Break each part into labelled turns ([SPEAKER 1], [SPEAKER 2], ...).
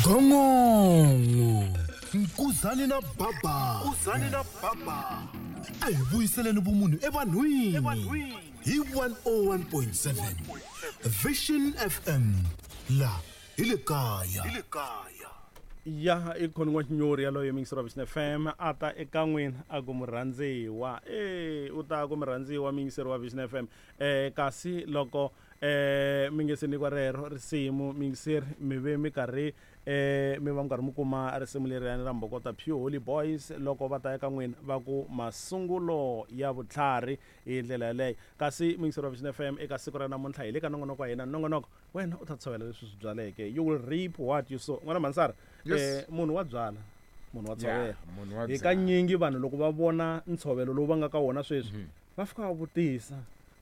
[SPEAKER 1] Gongongo Nkuzani na Baba. Nkuzani na Baba. A hi vuyiseleni vumunhu evanhwini. Hi 101.7 Vision FM la hi le kaya. Hi le kaya.
[SPEAKER 2] Ya i khoni n'waxinyori yaloye muyingiseri wa Vision FM a ta eka n'wina a ku murhandziwa e u ta ku murhandziwa muyingiseri wa Vision FM kasi loko mi nge se nyikiwa rero risimu muyingiseri mi ve mi karhi mi va mi karhi mi kuma risimu leriyani ra Mbokota Pure Holy Boys loko va ta eka n'wina va ku masungulo ya vutlhari hi ndlela yaleyo. Kasi muyingiseri wa Vision FM eka siku ra namuntlha hi le ka nongonoko wa hina nongonoko wena u ta tshovela leswi swi byaleke, you will reap what you sow. N'wana Mansara, munhu wa byala, munhu wa tshovela.
[SPEAKER 3] Munhu wa
[SPEAKER 2] Hi kanyingi vanhu loko va vona ntshovelo lowu va nga ka wona sweswi va fika va vutisa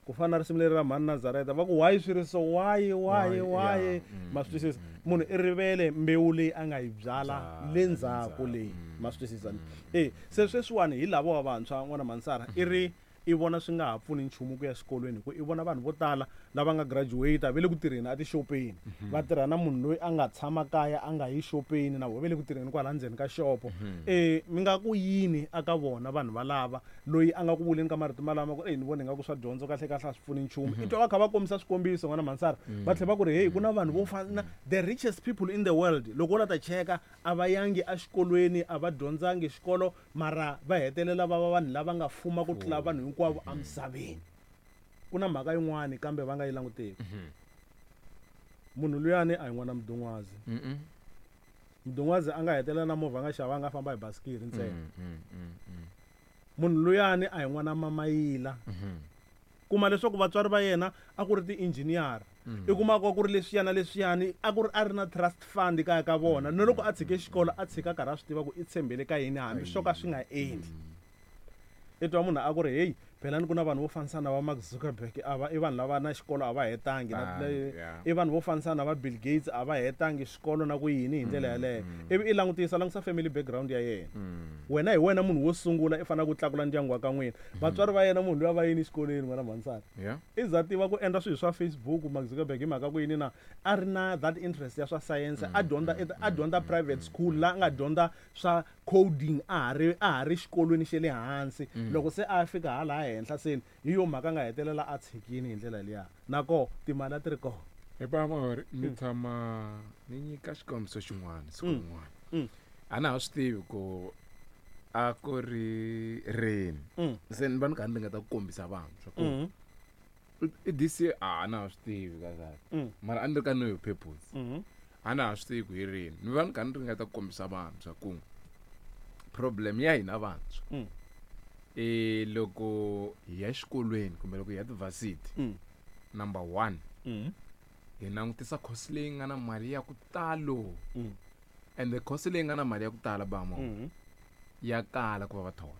[SPEAKER 2] ku fana na risimu leri ra mhani Nazareta va ku why swi ri so, why, why, why? Ma swi twisisa? Munhu i rivele mbewu leyi a nga yi byala le ndzhaku leyi. Ma swi twisisa? Se sweswiwani hi lava wa vantshwa n'wana Mansara i ri i vona swi nga ha pfuni nchumu ku ya xikolweni hi ku i vona vanhu vo tala lava nga graduate va le ku tirheni a tixopeni va tirha na munhu loyi a nga tshama kaya a nga yi xopeni na vona va le ku tirheni kwala ndzeni ka xopo. Mi nga ku yini aka vona vanhu valava loyi a nga ku vuleni ka marito malama ku ni vona ingaku swa dyondzo kahle kahle a swi pfuni nchumu. I twa va kha va kombisa swikombiso n'wana Mansara va tlhela va ku ri hey ku na vanhu vo fana na the richest people in the world loko wo la ta cheka a va yangi exikolweni a va dyondzangi xikolo mara va hetelela va va vanhu lava nga fuma ku tlula vanhu hinkwavo emisaveni. Ku na mhaka yin'wani kambe va nga yi languteki. Munhu luyani a hi n'wana Mdungwazi. Mdungwazi a nga hetelela na movha a nga xavanga a famba hi basikiri ntsena. Munhu luyani a hi n'wana Mamayila. Kuma leswaku vatswari va yena a ku ri ti-engineer. I kuma ku ri leswiya na leswiyani a ku ri a ri na trust fund kaya ka vona. Na loko a tshike xikolo a tshika karhi a swi tiva ku i tshembele ka yini hambi swo ka swi nga endli. I twa munhu a ku ri hey phela ni ku na vanhu vo fanisa na va Mark Zuckerberg a va i vanhu lava na xikolo a va hetangi na i vanhu vo fanisa na va Bill Gates a va hetangi xikolo na ku yini hi ndlela yaleyo. Ivi i langutisa langutisa family background ya yena. Wena hi wena munhu wo sungula i fanele ku tlakula ndyangu wa ka n'wina. Vatswari va yena munhu luya va yini exikolweni n'wana Mhansana. I za tiva ku endla swilo swa Facebook Mark Zuckerberg hi mhaka ku yini na a ri na that interest ya swa science a dyondza a dyondza private school la a nga dyondza swa coding a ha ri a ha ri xikolweni xa le hansi. Loko se a fika hala henhla se hi yo mhaka a nga hetelela a tshikini hi ndlela liya. Na koho timali a ti ri kona.
[SPEAKER 3] Hi Pamori ni tshama ni nyika xikombiso xin'wana siku rin'wana. A na ha swi tivi ku a ku ri rini. Se ni va ni karhi ni ringeta ku kombisa vanhu swa ku i this year a na ha swi tivi kahle kahle. Mara a ni ri ka know your purpose. A na ha swi tivi ku hi rini. Ni va ni karhi ni ringeta ku kombisa vanhu swa ku problem ya hina vantshwa i loko hi ya exikolweni kumbe loko hi ya ti-varsity, number 1 hi langutisa course leyi nga na mali ya ku talo. And the course leyi nga na mali ya ku tala bamo ya kala ku va va thola.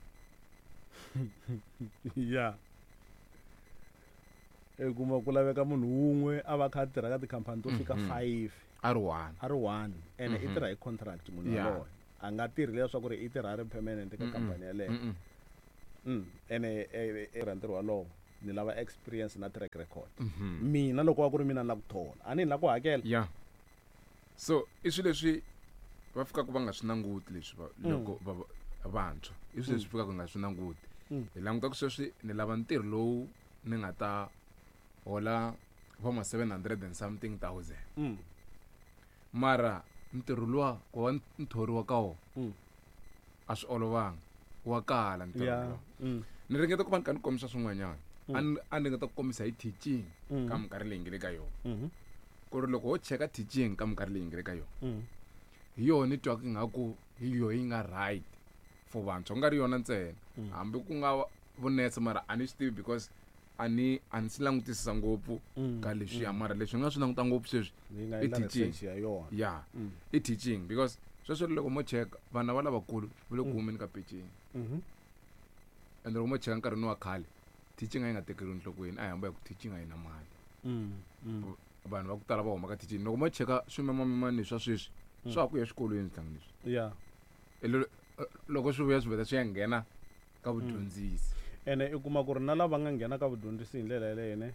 [SPEAKER 2] I kuma ku laveka munhu wun'we a va kha a tirha ka tikhampani to fika 5.
[SPEAKER 3] A ri one.
[SPEAKER 2] A ri one. Ene i tirha hi contract munhu yaloye. A nga tirhi leswaku ri i tirha a ri permanent ka khampani yaleyo. Ene tirha ntirho walowo ni lava experience na track record. Mina loko wa ku ri mina ni la ku thola, a ni la ku hakela.
[SPEAKER 3] So i swilo leswi va fikaka va nga swi languti leswi loko va vantshwa. I swilo leswi fikaka nga swi languti. Hi languta ku sweswi ni lava ntirho lowu ni nga ta hola va ma 700 and something thousand. Mara ntirho luwa ku va ni thoriwa ka wona a swi olovanga, wa kala ntirho luwa. Ni ringeta ku va ni kha ni kombisa swin'wanyana. A ni ringeta ku kombisa hi teaching ka minkarhi leyi nge le ka yona. Ku ri loko ho cheka teaching ka minkarhi leyi nge le ka yona, hi yona ni twaka ingaku hi yona yi nga right for vantshwa, ku nga ri yona ntsena. Hambi ku nga vunese mara a ni swi tivi because a ni a ni swi langutisisa ngopfu ka leswiya, mara leswi nga swi languta ngopfu sweswi i teaching. I teaching because sweswo loko mo cheka vana va lavakulu va le ku humeni ka peceni. Ende loko mo cheka nkarhini wa khale teaching a yi nga tekeriwi enhlokweni, a hi hamba hi ku teaching a yi na mali. Vanhu va ku tala va huma ka teaching. Loko mo cheka swimemamemani swa sweswi swa ha ku ya exikolweni swihlangi leswi. Loko swi vuya swi vheta swi ya nghena ka vudyondzisi.
[SPEAKER 2] Ene i kuma ku ri na lava nga nghena ka vudyondzisi hi ndlela yaleyo ne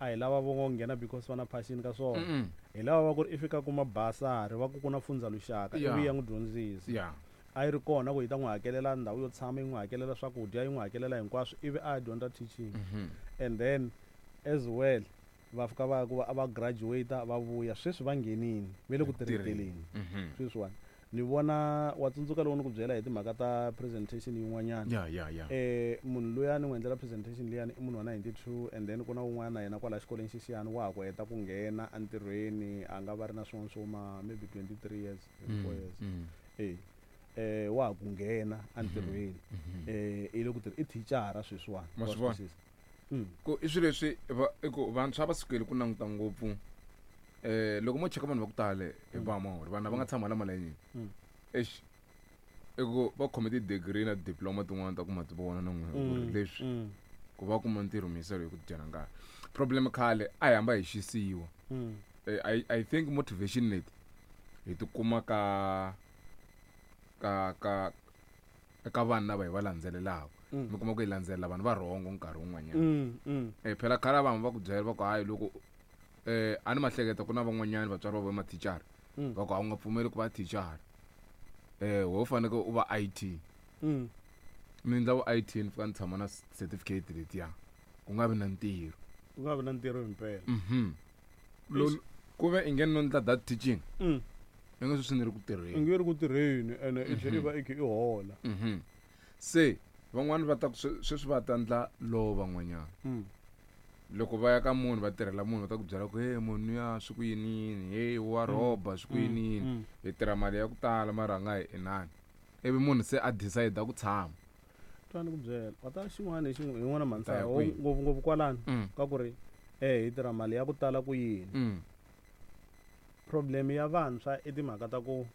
[SPEAKER 2] a hi lava vo ngo nghena because va na passion ka swona. Hi lava va ku ri i fika kuma basari va ku ku na fundza luxaka ivi ya n'wi dyondzisa. A yi ri kona ku yi ta n'wi hakelela ndhawu yo tshama, yi n'wi hakelela swakudya, yi n'wi hakelela hinkwaswo, ivi a ya dyondza teaching. And then as well va fika va ya ku va va graduate va vuya, sweswi va nghenini ve le ku tirheteleni. Sweswiwani ni vona wa tsundzuka loko ni ku byela hi timhaka ta presentation yin'wanyana.
[SPEAKER 3] Ya ya ya.
[SPEAKER 2] Munhu loyi a ni n'wi endlela presentation liyani i munhu wa 92, and then ku na un'wana na yena kwala xikolweni xexiyani wa ha ku heta ku nghena entirhweni, a nga va ri na swin'wana swo ma maybe 23 years, 24 years. Wa ha ku nghena entirhweni. I le ku tirha, i thicara sweswiwani.
[SPEAKER 3] Ma swi vona? Ku i swilo leswi i ku vantshwa va sukeli ku languta ngopfu. Loko mo cheka vanhu va ku tala hi va mahori, vanhu lava nga tshama la malayinini. Eish, i ku va khome ti-degree na diploma tin'wana ta ku ma ti vona na n'wina ku ri leswi ku va kuma ntirho miyiselo hi ku dyana nkarhi. Problem khale a hi hamba hi xisiwa. I think motivation leti hi ti kuma ka vanhu lava hi va landzelelaka. Mi kuma ku hi landzelela vanhu va rhongo nkarhi wun'wanyana. Phela khale vanhu va ku byela va ku hayi loko a ni mahleketa ku na van'wanyana vatswari va vona mathicara. Va ku a wu nga pfumeli ku va thicara. Wo fanekele u va IT. Ni endla vu IT ni fika ni tshama na certificate letiya. Ku nga vi na ntirho.
[SPEAKER 2] Ku nga vi na ntirho himpela.
[SPEAKER 3] Ku ve i nge no ndla that teaching. I nge sweswi ni ri ku tirheni.
[SPEAKER 2] I nge ri ku tirheni ene i tlhela i va i kha i hola.
[SPEAKER 3] Se van'wani va ta ku sweswi va ta ndla law van'wanyana. Loko va ya ka munhu va tirhela munhu va ta ku byela ku hey munhu ya swi ku yini yini, hey wa rhoba swi ku yini yini. Hi tirha mali ya ku tala mara a nga hi inani. Ivi munhu se a decide ku tshama.
[SPEAKER 2] Twa ni ku byela, wa ta xin'wana hi xin'wana, hi n'wana mhanisa,
[SPEAKER 3] Ta ya kwihi?
[SPEAKER 2] ngopfu ngopfu kwalano, ka ku ri, hi tirha mali ya ku tala ku yini. Problem ya vantshwa i timhaka ta ku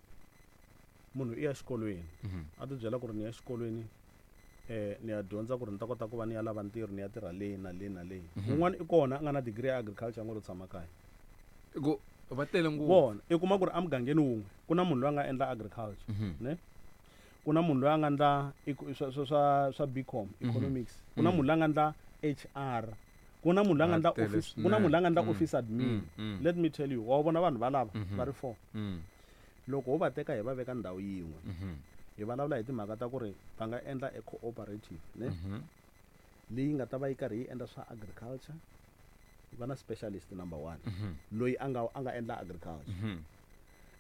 [SPEAKER 2] munhu i ya xikolweni. A ti byela ku ri ni ya xikolweni, ni ya dyondza ku ri ni ta kota ku va ni ya lava ntirho, ni ya tirha leyi na leyi na leyi. Un'wana i kona a nga na degree ya agriculture a ngo lo tshama kaya.
[SPEAKER 3] Ku va tele ngopfu.
[SPEAKER 2] Vona, i kuma ku ri emugangeni wun'we ku na munhu loyi a nga endla agriculture, ne? Ku na munhu loyi a nga endla swa BCom, economics. Ku na munhu loyi a nga endla HR. Ku na munhu loyi a nga endla
[SPEAKER 3] Va tele
[SPEAKER 2] office, ku na munhu loyi a nga endla
[SPEAKER 3] swinene.
[SPEAKER 2] office admin. Let me tell you, wa vona vanhu valava va ri 4. Loko ho va teka hi va veka ndhawu yin'we, hi vulavula hi timhaka ta ku ri va nga endla a cooperative, ne? Leyi nga ta va yi karhi yi endla swa agriculture, va na specialist number 1, loyi a nga endla agriculture.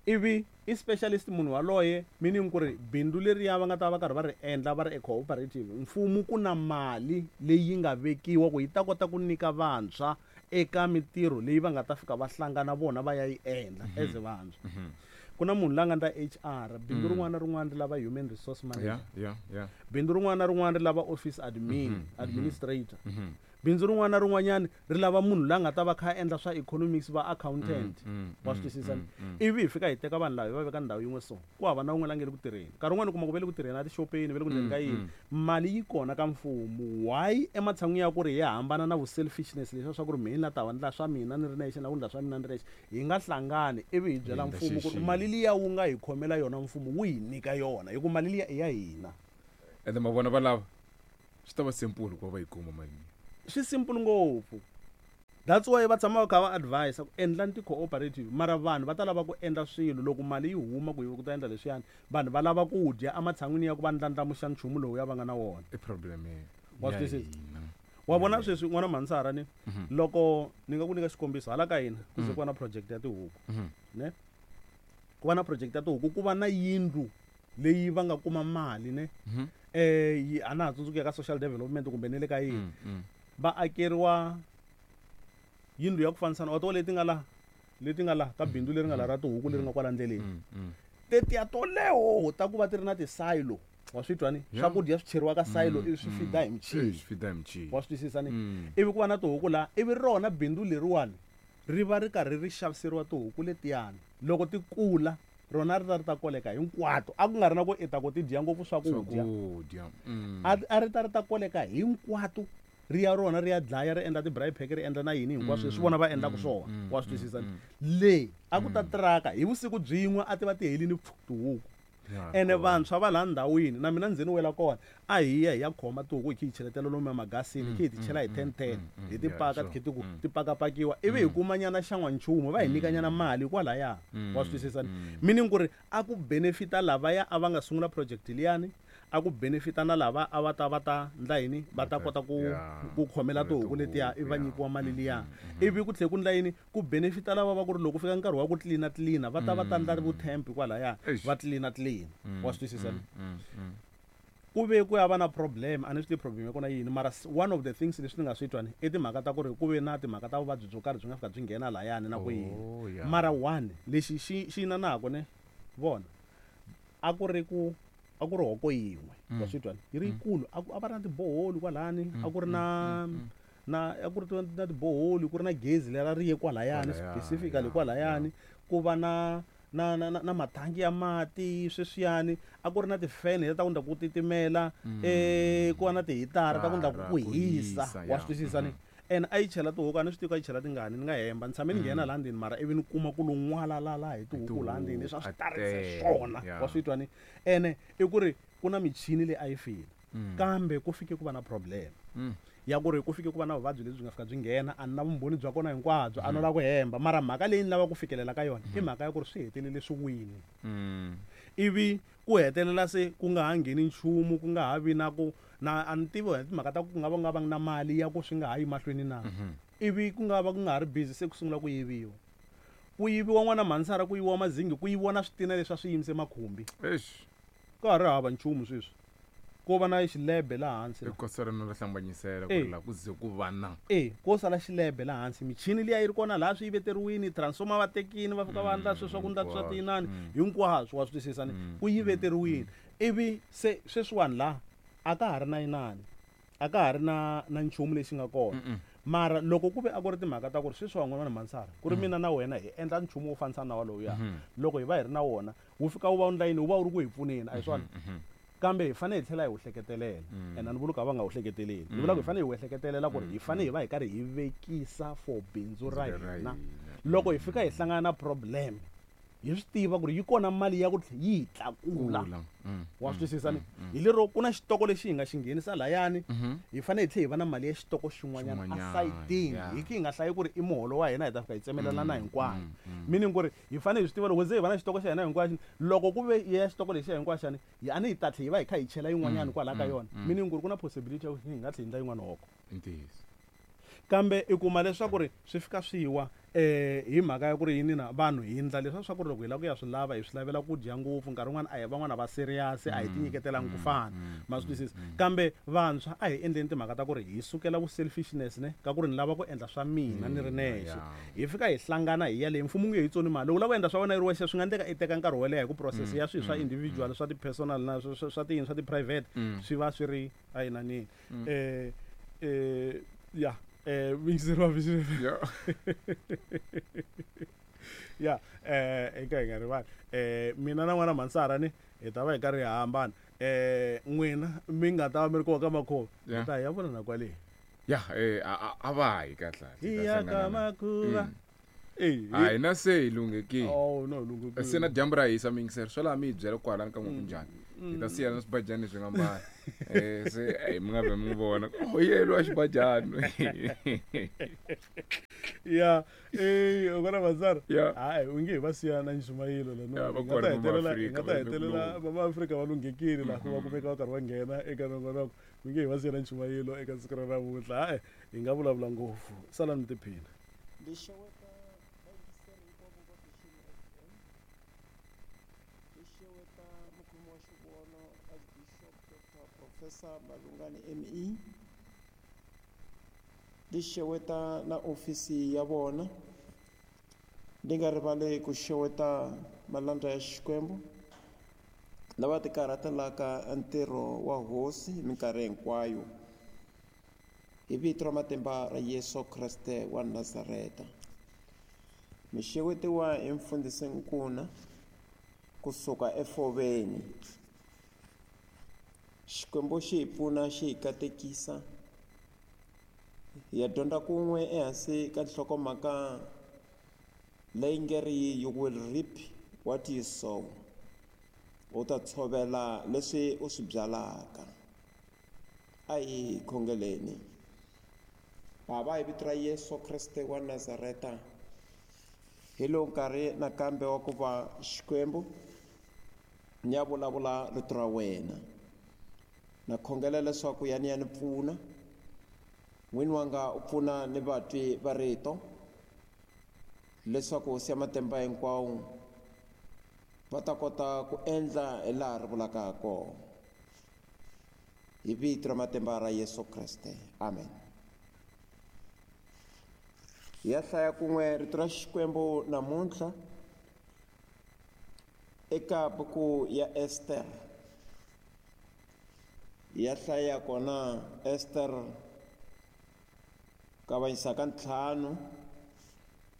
[SPEAKER 2] Ivi i specialist munhu waloye, meaning ku ri bindzu leriya va nga ta va karhi va ri endla va ri e cooperative, mfumo ku na mali leyi nga vekiwa ku yi ta kota ku nyika vantshwa eka mitirho leyi va nga ta fika va hlangana vona va ya yi endla as vantshwa. Ku na munhu la nga ndla HR, bindzu rin'wana na rin'wana ri lava human resource manager. Bindzu rin'wana na rin'wana ri lava office admin, administrator. Bindzu rin'wana na rin'wanyana ri lava munhu la nga ta va kha a endla swa economics, va accountant. Wa swi twisisa? Ivi hi fika hi teka vanhu lava hi va veka ndhawu yin'we so, ku hava na wun'we la nge le ku tirheni. Nkarhi wun'wani u kuma ku va le ku tirheni a tixopeni, va le ku endleni ka yini. Mali yi kona ka mfumo. Why ematshan'wini ya ku ri hi hambana na vu-selfishness leswiya swa ku ri mina ni la ta va ndla swa mina ni ri nexe, na ku ndla swa mina ni ri nexe, hi nga hlangani ivi hi byela
[SPEAKER 3] Hi endla
[SPEAKER 2] mfumo ku ri
[SPEAKER 3] xixima.
[SPEAKER 2] mali liya wu nga hi khomela yona mfumo wu hi nyika yona, hi ku mali liya i ya hina.
[SPEAKER 3] Ende ma vona valava swi ta va simple ku va va yi kuma mali liya.
[SPEAKER 2] Swi simple ngopfu. That's why va tshama va kha va advise ku endlani ti-cooperative, mara vanhu va ta lava ku endla swilo loko mali yi huma ku yi ku ta endla leswiyani, vanhu va lava ku dya ematshan'wini ya ku va ndlandlamuxa nchumu lowu ya va nga na wona.
[SPEAKER 3] I problem ya
[SPEAKER 2] Wa swi twisisa?
[SPEAKER 3] hina.
[SPEAKER 2] Wa vona sweswi n'wana Mhansara ni loko ni nga ku nyika xikombiso hala ka hina ku ze ku va na project ya tihuku, ne? Ku va na project ya tihuku, ku va na yindlu leyi va nga kuma mali, ne? Yi, a na ha tsundzuki ya ka social development kumbe ne le ka yini. Va akeriwa yindlu ya ku fanisana, wa tiva leti nga la, leti nga la ka bindzu leri nga la ra tihuku leri nga kwala ndleleni. Tetiya toleho ta ku va ti ri na ti-silo, wa swi twa ni? Swakudya swi cheriwa ka silo, ivi swi fida hi michini.
[SPEAKER 3] Swi fida hi michini.
[SPEAKER 2] Wa swi twisisa ni? Ivi ku va na tihuku laha, ivi rona bindzu leriwani ri va ri karhi ri xaviseriwa tihuku letiyani. Loko ti kula, rona ri ta ri ta koleka hinkwato. A ku nga ri na ku i ta ku ti dya ngopfu swakudya.
[SPEAKER 3] Swakudya.
[SPEAKER 2] A ri ta ri ta koleka hinkwato. Ri ya rona ri ya dlaya, ri endla ti-braai pack, ri endla na yini hinkwaswo leswi vona va endlaka swona. Wa swi twisisa ni? Le a ku ta tiraka hi vusiku byin'we a ti va ti helini pfu tihuku. Ene vantshwa va laha ndhawini na mina ndzeni wela kona a hi ya hi ya khoma tihuku hi khe hi cheletela lomu emagasini, hi khe hi ti chela hi 10 10, hi ti paka, ti khe ti ku ti pakapakiwa, ivi hi kumanyana xan'wanchumu, va hi nyikanyana mali kwalaya. Wa swi twisisa? Meaning ku ri a ku benefita lavaya a va nga sungula project liyani, a ku benefita na lava a va ta va ta ndla yini, va ta kota ku ku khomela tihuku letiya, ivi va nyikiwa mali liya. Ivi ku tlhela ku ndla yini, ku benefita lava va ku ri loko ku fika nkarhi wa ku tlilina tlilina, va ta va ta ndla vutemp kwalaya, va tlilina tlilina. Wa swi twisisa? Ku ve ku ya va na problem, a ni swi tivi problem ya kona yini, mara one of the things leswi ni nga swi twa ni i timhaka ta ku ri ku ve na timhaka ta vuvabyi byo karhi byi nga fika byi nghena layani na ku yini.
[SPEAKER 3] Oh, yeah.
[SPEAKER 2] Mara one lexi xi xi inanako ne vona a ku ri ku a ku ri hoko yin'we. Wa swi twa? Yi ri yikulu, a ku a va ri na tiboholi kwalani, a ku ri na a ku ri na tiboholi, ku ri na gezi lera ri ye kwalayani.
[SPEAKER 3] Kwalayani,
[SPEAKER 2] specifically kwalayani ku va na mathangi ya mati sweswiyani, a ku ri na tifene leti ta ku ndla ku titimela, ku va na tihitara ta ku ndla ku
[SPEAKER 3] Ku
[SPEAKER 2] hisa.
[SPEAKER 3] hisa,
[SPEAKER 2] Wa swi twisisa ni? And a yi chela tihuku, a ni swi tivi ku a yi chela tingani, ni nga hemba. Ni tshame ni nghena laha ndzeni, mara ivi ni kuma ku lo n'walalala hi tihuku laha ndzeni, leswi a swi
[SPEAKER 3] A
[SPEAKER 2] tarise
[SPEAKER 3] tele,
[SPEAKER 2] swona. Wa swi twa ni? Ene i ku ri ku na michini leyi a yi file, kambe ku fike ku va na problem ya ku ri ku fike ku va na vuvabyi lebyi nga fika byi nghena. A ni na vumbhoni bya kona hinkwabyo, a no lava ku hemba, mara mhaka leyi ni lava ku fikelela ka yona i mhaka ya ku ri swi hetelele swi wini, ivi ku hetelela se ku nga ha ngheni nchumu, ku nga ha vi na ku na a ni tivi timhaka ta ku nga va nga vangi na mali ya ku swi nga ha yi mahlweni na. Ivi ku nga va ku nga ha ri busy, se ku sungula ku yiviwa, ku yiviwa n'wana mhansara, ku yiviwa mazingi, ku yiviwa na switina leswi a swi yimise makhumbi.
[SPEAKER 3] Eish.
[SPEAKER 2] Ka ha ri hava nchumu sweswi, ko va na xilebe laha hansi la.
[SPEAKER 3] I kosa rino ra hlambanyisela ku
[SPEAKER 2] Eh.
[SPEAKER 3] ri laha ku ze ku va na
[SPEAKER 2] E ko sala xilebe laha hansi, michini liya yi ri kona laha, swi yi veteriwini, transformer va tekini, va fika va endla sweswo swa ku ndla swa
[SPEAKER 3] Hinkwaswo.
[SPEAKER 2] tinani hinkwaswo. Wa swi twisisa ni? Ku yi veteriwini, ivi se sweswiwani laha a ka ha ri na inani, a ka ha ri na nchumu lexi nga kona. Mara loko ku ve a ku ri timhaka ta ku ri sweswi van'wana mansara ku ri mina na wena hi endla nchumu wo fanisa na walowuya, loko hi va hi ri na wona, wu fika wu va wu ndla yini, wu va wu ri ku hi pfuneni, a hi swona? Kambe hi fanele hi tlhela hi wu hleketelela. Ene a ni vuli ku a va nga wu hleketeleli, ni vula ku hi fanele hi wu ehleketelela ku ri hi fanele hi va hi karhi hi vekisa for bindzu ra
[SPEAKER 3] Ra
[SPEAKER 2] hina.
[SPEAKER 3] hina.
[SPEAKER 2] Loko hi fika hi hlangana na problem, hi swi tiva ku ri yi kona mali ya ku yi hi tlakula.
[SPEAKER 3] Kula.
[SPEAKER 2] Wa swi twisisa ni? Hi lero ku na xitoko lexi hi nga xi nghenisa layani, hi fanele hi tlhela hi va na mali ya xitoko xin'wanyana
[SPEAKER 3] Xin'wanyana,
[SPEAKER 2] asayitini, hi ki hi nga hlayi ku ri i muholo wa hina hi ta fika hi tsemelelana hinkwayo. Meaning ku ri hi fanele hi swi tiva loko ze hi va na xitoko xa hina hinkwaxo, loko ku ve ya xitoko lexi hinkwaxani hi a ni hi ta tlhe hi va hi kha hi chela yin'wanyana kwalaya ka yona, meaning ku ri ku na possibility ya ku hi nga tlhe hi endla yin'wana hoko.
[SPEAKER 3] I ntiyiso.
[SPEAKER 2] Kambe i kuma leswaku ri swi fika swi wa hi mhaka ya ku ri yini na vanhu hi ndla leswa swa ku ri loko hi lava ku ya swi lava, hi swi lavela ku dya ngopfu. Nkarhi wun'wana a hi van'wana va serious, a hi tinyiketelangi ku fana. Ma swi twisisa? Kambe vantshwa a hi endleni timhaka ta ku ri hi sukela vu selfishness ne ka ku ri ni lava ku endla swa mina ni ri nexe. Hi fika hi hlangana hi ya leyi mfumo nge hi tsoni mali. Loko u lava ku endla swa wena yi ri wexe, swi nga endleka i teka nkarhi wo leha, hi ku process ya swilo swa individual, swa ti-personal na swa tiyini, swa ti-private, swi va swi ri a yinanini. Ya, muyingiseri wa Vision, ya eka hi nga rivali, mina na n'wana Mansara ni hi ta va hi karhi hi hambana. N'wina mi nga ta va mi ri kona ka makhuva, hi ta hi ya vona na kwale.
[SPEAKER 3] Ya, a va hi kahle.
[SPEAKER 2] Hi ya ka makhuva.
[SPEAKER 3] A hina se hi lunghekile.
[SPEAKER 2] Oh no, lunghekile.
[SPEAKER 3] Se na dyambu ra hisa, miyingiseri swo laha mi hi byela kwalani ka n'we ku njhani. Hi ta siya na swibajani leswi nga mbala. Se mi nga vhe mi n'wi vona. Oh, yelo a xibajani.
[SPEAKER 2] Ya, n'wana Mansara.
[SPEAKER 3] Ya.
[SPEAKER 2] Hayi, u nge hi va siya na nxumayelo la.
[SPEAKER 3] Ya, va
[SPEAKER 2] Hi nga
[SPEAKER 3] kona
[SPEAKER 2] ta
[SPEAKER 3] Mama
[SPEAKER 2] hetelela, hi
[SPEAKER 3] Afrika,
[SPEAKER 2] nga ta
[SPEAKER 3] va le
[SPEAKER 2] hetelela
[SPEAKER 3] kuloni.
[SPEAKER 2] Mama Afrika va lunghekile laha va kumeka va karhi va nghena eka nongonoko. U nge hi va siya na nchumayelo eka siku ra namuntlha. Hayi, hi nga vulavula ngopfu. Salani mi tiphina.
[SPEAKER 4] Ndi xeweta vayingiseri hinkwavo va Vision FM. Ndi xeweta mukhomi wa xivono Archbishop Dr. Professor Malungani ME. Ndi xeweta na ofisi ya vona. Ndi nga rivali ku xeweta malandza ya Xikwembu lava tikarhatelaka ntirho wa hosi hi minkarhi hinkwayo. Hi vito ra matimba ra Yesu Kreste wa Nazareta. Mi xewetiwa hi mfundhisi Nkuna kusuka eFoveni. Xikwembu xi hi pfuna, xi hi katekisa. Hi ya dyondza kun'we ehansi ka nhlokomhaka leyi nge ri you will reap what you sow. U ta tshovela leswi u swi byalaka. A hi khongeleni. Bava, hi vito ra Yesu Kreste wa Nazareta, hi lowu nkarhi nakambe wa ku va Xikwembu ni ya vulavula rito ra wena. Na khongela leswaku ya ni ya ni pfuna, n'wini wanga u pfuna ni vatwi va rito, leswaku Hosi ya matimba hinkwawo va ta kota ku endla hi laha ri vulaka ha kona. Hi vito ra matimba ra Yesu Kreste, amen. Hi ya hlaya kun'we rito ra Xikwembu namuntlha eka buku ya Ester. Hi ya hlaya kona Ester kavanyisa ka 5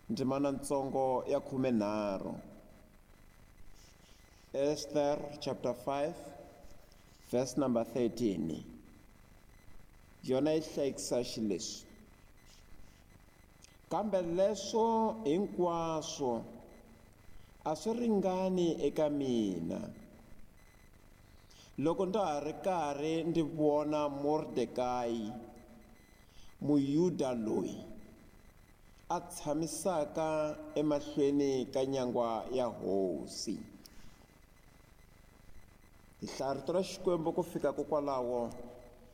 [SPEAKER 4] ndzimana ntsongo ya 13. Esther chapter 5 verse number 13. Yona yi hlayekisa xileswi: kambe leswo hinkwaswo a swi ringani eka mina, loko ndza ha ri karhi ndzi vona Mordekayi Muyuda loyi a tshamisaka emahlweni ka nyangwa ya hosi. Hi hlaya rito ra Xikwembu ku fika kokwalaho,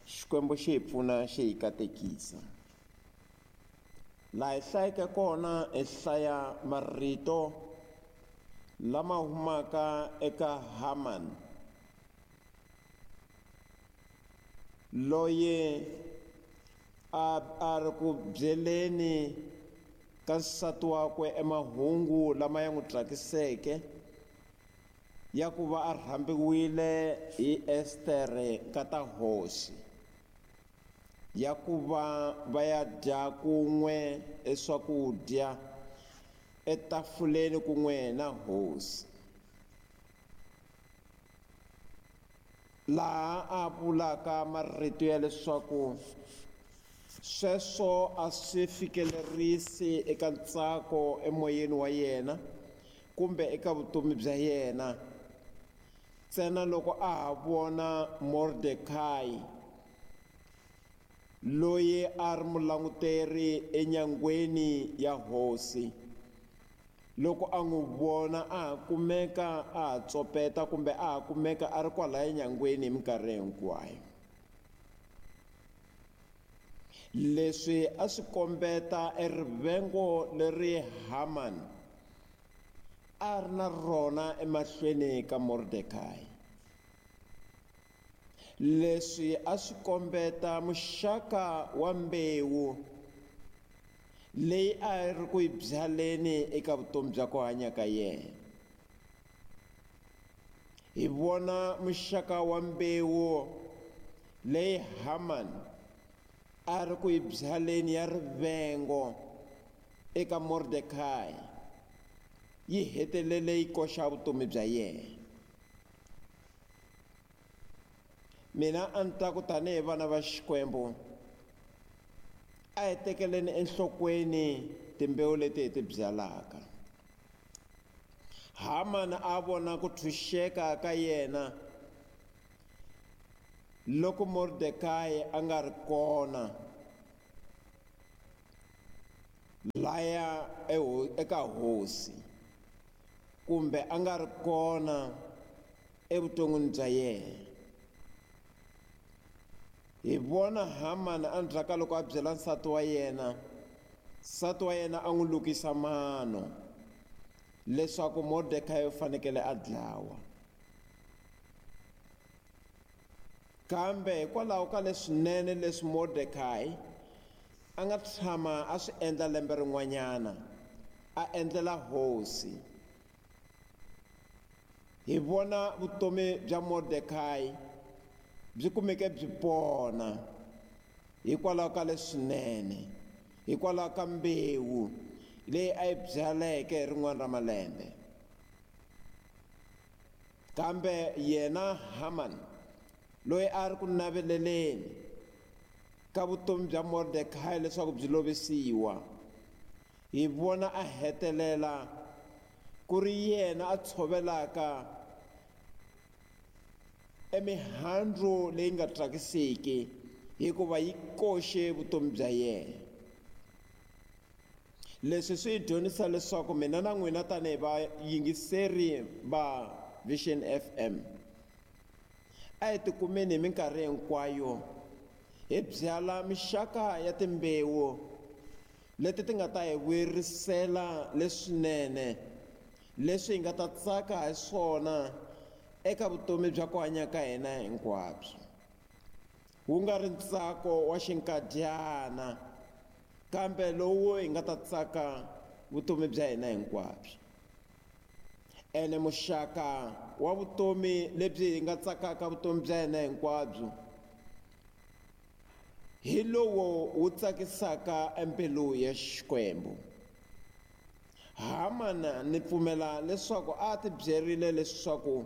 [SPEAKER 4] Xikwembu xi hi pfuna, xi hi katekisa. Laha hi hlayeke kona hi hlaya marito lama humaka eka Haman, loyi a ri ku byeleni ka nsati wakwe emahungu lama ya n'wi tsakiseke ya ku va a rhambiwile hi Estere nkata hosi, ya ku va va ya dya kun'we eswakudya etafuleni kun'we na hosi. Laha a vulaka marito ya leswaku sweswo a swi fikelerisi eka ntsako emoyeni wa yena kumbe eka vutomi bya yena, ntsena loko a ha vona Mordekayi loyi a ri mulanguteri enyangweni ya hosi. Loko a n'wi vona a ha kumeka a ha tsopeta kumbe a ha kumeka a ri kwalaya enyangweni hi minkarhi hinkwayo. Leswi a swi kombeta erivengo leri Haman a ri na rona emahlweni ka Mordekayi. Leswi a swi kombeta muxaka wa mbewu leyi a ri ku yi byaleni eka vutomi bya ku hanya ka yena. Hi vona muxaka wa mbewu leyi Haman a ri ku yi byaleni ya rivengo eka Mordekayi, yi hetelele yi koxa vutomi bya yena. Mina a ni ta ku tanihi vana va Xikwembu, a hi tekeleni enhlokweni timbewu leti hi ti byalaka. Haman a vona ku tshunxeka ka yena loko Mordekayi a nga ri kona laya eka hosi, kumbe a nga ri kona evuton'wini bya yena. Hi vona Haman endzhaku ka loko a byela nsati wa yena, nsati wa yena a n'wi lukisa mano leswaku Mordekayi u fanekele a dlawa. Kambe hikwalaho ka leswinene leswi Mordekayi a nga tshama a swi endla lembe rin'wanyana, a endlela hosi, hi vona vutomi bya Mordekayi byi kumeke byi pona hikwalaho ka leswinene, hikwalaho ka mbewu leyi a yi byaleke hi rin'wana ra malembe. Kambe yena Haman loyi a ri ku naveleleni ka vutomi bya Mordekayi leswaku byi lovisiwa, hi vona a hetelela ku ri yena a tshovelaka emihandzu leyi nga tsakisiki hikuva yi koxe vutomi bya yena. Leswi swi hi dyondzisa leswaku mina na n'wina tanihi vayingiseri va Vision FM a hi tikumeni hi minkarhi hinkwayo hi byala mixaka ya timbewu leti ti nga ta hi vuyerisela leswinene, leswi hi nga ta tsaka hi swona eka vutomi bya ku hanya ka hina hinkwabyo. Wu nga ri ntsako wa xinkadyana, kambe lowu hi nga ta tsaka vutomi bya hina hinkwabyo. Ene muxaka wa vutomi lebyi hi nga tsakaka vutomi bya hina hinkwabyo hi lowu wu tsakisaka embilu ya Xikwembu. Hamana ni pfumela leswaku a ti byerile leswaku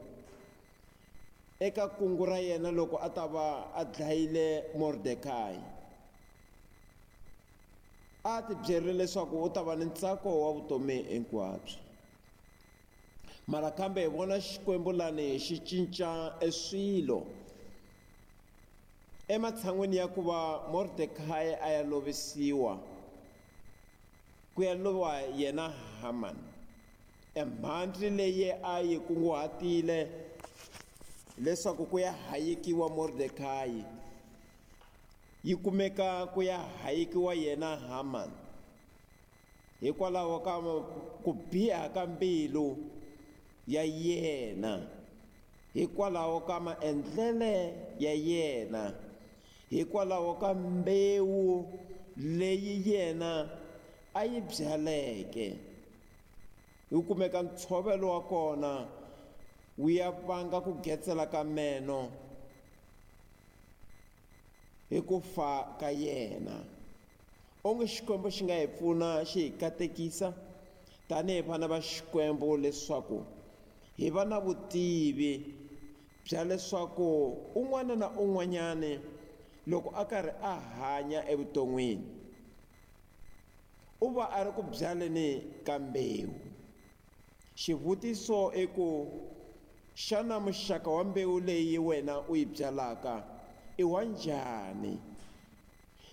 [SPEAKER 4] eka kungu ra yena loko a ta va a dlayile Mordekayi, a ti byerile leswaku u ta va ni ntsako wa vutomi hinkwabyo. Mara kambe hi vona Xikwembu lani xi cinca eswilo. Ematshan'wini ya ku va Mordekayi a ya lovisiwa, ku ya lova yena Haman. Emhandzi leyi a yi kunguhatile leswaku ku ya hayekiwa Mordekayi, yi kumeka ku ya hayekiwa yena Haman. Hikwalaho ka ku biha ka mbilu ya yena, hikwalaho ka maendlele ya yena, hikwalaho ka mbewu leyi yena a yi byaleke, wu kumeka ntshovelo wa kona wu ya vanga ku getsela ka meno hi ku fa ka yena. Onge Xikwembu xi nga hi pfuna xi hi katekisa tanihi vana va Xikwembu leswaku hi va na vutivi bya leswaku un'wana na un'wanyani loko a karhi a hanya evuton'wini u va a ri ku byaleni ka mbewu. Xivutiso i ku, xana muxaka wa mbewu leyi wena u yi byalaka i wa njhani?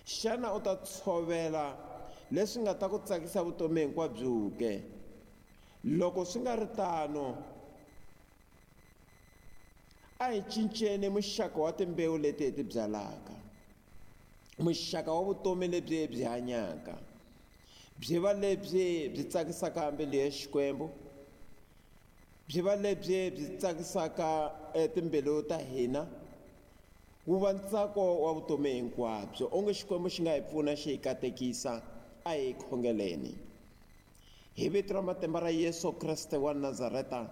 [SPEAKER 4] Xana u ta tshovela leswi nga ta ku tsakisa vutomi hinkwabyo ke? Loko swi nga ri tano, a hi cinceni muxaka wa timbewu leti hi ti byalaka, muxaka wa vutomi lebyi hi byi hanyaka, byi va lebyi byi tsakisaka mbilu ya Xikwembu, byi va lebyi byi tsakisaka timbilu ta hina, wu va ntsako wa vutomi hinkwabyo. Onge Xikwembu xi nga hi pfuna xi hi katekisa. A hi khongeleni. Hi vito ra matimba ra Yesu Kreste wa Nazareta,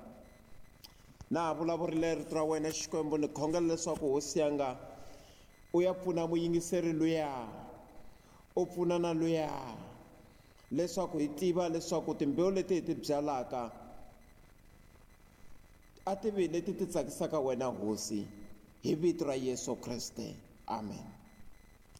[SPEAKER 4] na ha vulavurile rito ra wena Xikwembu, ni khongela leswaku Hosi yanga u ya pfuna muyingiseri luya, u pfuna na luya, leswaku hi tiva leswaku timbewu leti hi ti byalaka a ti vi leti ti tsakisaka wena Hosi, hi vito ra Yesu Kreste. Amen.